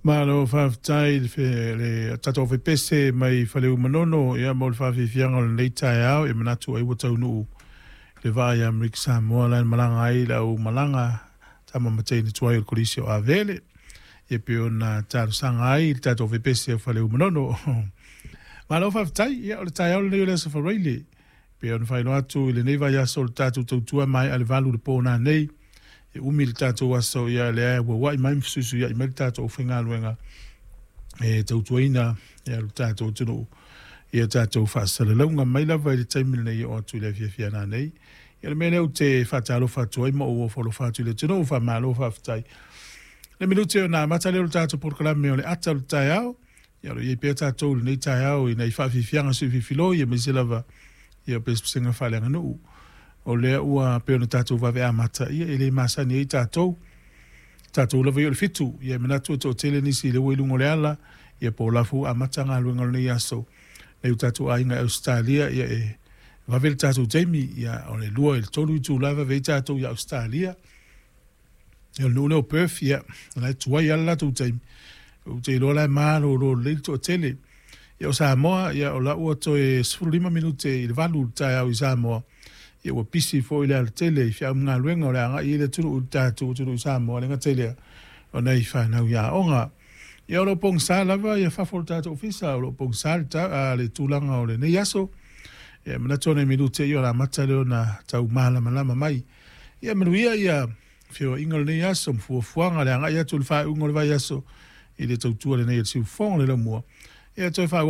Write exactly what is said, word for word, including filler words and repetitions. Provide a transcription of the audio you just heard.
Malo faafetai i le tatou fepese mai Faleu Manono, ia, mo le faafiafiaga o lenei taeao. E manatu ai ua taunuu le vaa i Amerika Samoa la e malaga ai le au malaga tama ma teine tuai o le Kolisi o Avele, ia pei ona talosaga ai le tatou fepese o Faleu Manono. Malo faafetai. Ia, o le taeao lenei o le Aso Faraile, pei ona faailoa atu i lenei vaiaso o le tatou tautua mai a le valu le po nanei. E umi le tatou aso, ia lea ua ua'i mai ma fesuisuia'i mai le tatou faigaluega e tautuaina, ia, lo tatou atunuu, ia tatou faasalalauga mai lava i le taimi lenei o atu i le afiafi nanei. Ia, le mea lea ou te faatalofa atu ai ma ou ofo alofa atu i le atunuu, faamalo faafetai. Le minute o na amata lea o le tatou polokalame o le ata o le taeao. Ia, o lo o i ai pea tatou i lenei taeao ina i faafiafiaga suifilifiloi aemaise lava ia pesepesega faaleaganuu. O lea ua pei ona tatou vave amata, ia e le masani ai tatou tatou lava ia o le fitu. Ia, e manatu e toatele nisi i le ua i luga o le ala, ia po o lafu amata galuega o lenei aso. Nei o tatou aiga i Ausetalia, ia e vave le tatou taimi, ia o le lua i le tolu itula e vave ai tatou i Ausetalia. Ia, o le nuu lea o Perth, ia, o la e tuai lava le latou taimi. Ou te iloa la e malolo lelei le toatele. Ia, o Samoa, ia o la ua toe sefululima minute i le valu le taeao i Samoa. Ia, ua pisi foi le alatele i feau ma galuega o le agai i le atunuu i le tatou atunuu i Samoa, le gata i lea o nai fanau i aoga. Ia, o lo o pogisa lava ia fafo o le tatou ofisa, o lo o pogisa le, ta, le tulaga o lenei aso. Ia, manatu o nai minute ia o le amata lea ona tau malamalama mai. Ia manuia ia feoaiga o lenei aso ma fuafuaga le agai atu i le faaiuga o le vaiaso i le tautua lenei e le siufofoga o le laumua. Ia toe faaauau.